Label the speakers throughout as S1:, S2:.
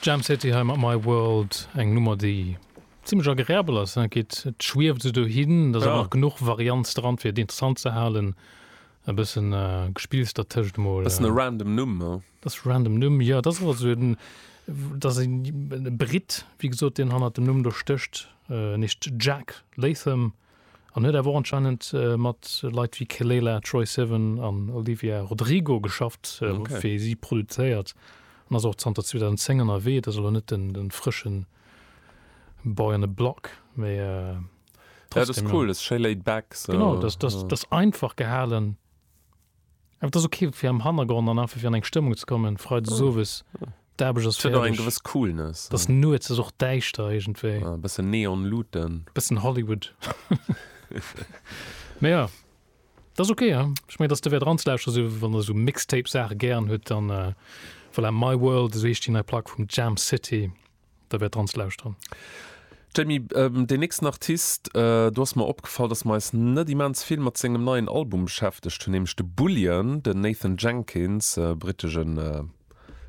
S1: Jam City hei mat My World, eng Nummer déi zimmlech agreabel ass, et geet, et schwieft esou dohin, et ass awer nach genuch Varianz dran fir et interessant ze halen, e bëssen Gespills dertëscht emol.
S2: Bëssen e random Numm, he?
S1: Dat ass random Numm, jo, dat ass awer esou en, dat ass e Britt, wéi gesot, deen hannert dem Numm do stécht, en heescht Jack Latham. An huet awer och anscheinend mat Leit wéi Kelela, Troye Sivan an Olivia Rodrigo geschafft, fir si produzéiert an ass och zanter 2010 ënnerwee. Et ass elo net den frësche Boy on the Block, mee
S2: trotzdem. Ja, dat ass cool, dat ass schéi laid back.
S1: Genau, dat ass einfach gehalen. Awer et ass ok fir am Hannergrond an einfach fir an eng Stëmmung ze kommen, Freides owes, d'Aarbecht ass
S2: fäerdeg. Et huet och eng gewëss Coolness.
S1: Et ass nuets, et ass och däischter iergendwéi.
S2: E bëssen Neon-Luuten.
S1: Bëssen Hollywood. Mee jo, et ass ok, ja. Ech mengen, et ass derwäert eranzelauschteren, esou wann der esou Mixtape-Saache gären hutt, dann voilà, My World, esou heescht déi nei Plack vum Jam City. Da wäert dran ze lauschteren.
S2: Jamie, deen nächsten Artist, do ass mer opgefall, dass mer eis net immens vill mat sengem neien Album beschäftegt hunn, nämlech de Bullion, den Nathan Jenkins, brittegen,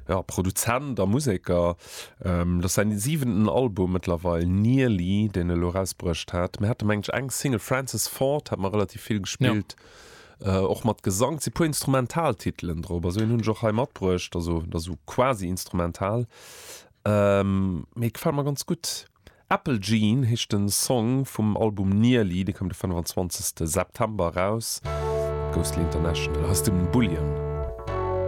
S2: jo, Produzent a Museker. Dat ass säin siwenten Album mëttlerweil, Nearly, deen e elo erausbruecht hat. Mir hate mengen ech eng Single, Francis Ford, hat mer relativ vill gespillt, och mat Gesang. Et si puer Instrumentaltitelen drop, also een hunn ech och hei matbruecht, also dat ass esou quasi instrumental. Mee gefällt mer ganz gutt. Apple Jean heescht den Song vum Album Nearly, dee koum de 25 September eraus. Ghostly International, hei ass den Bullion.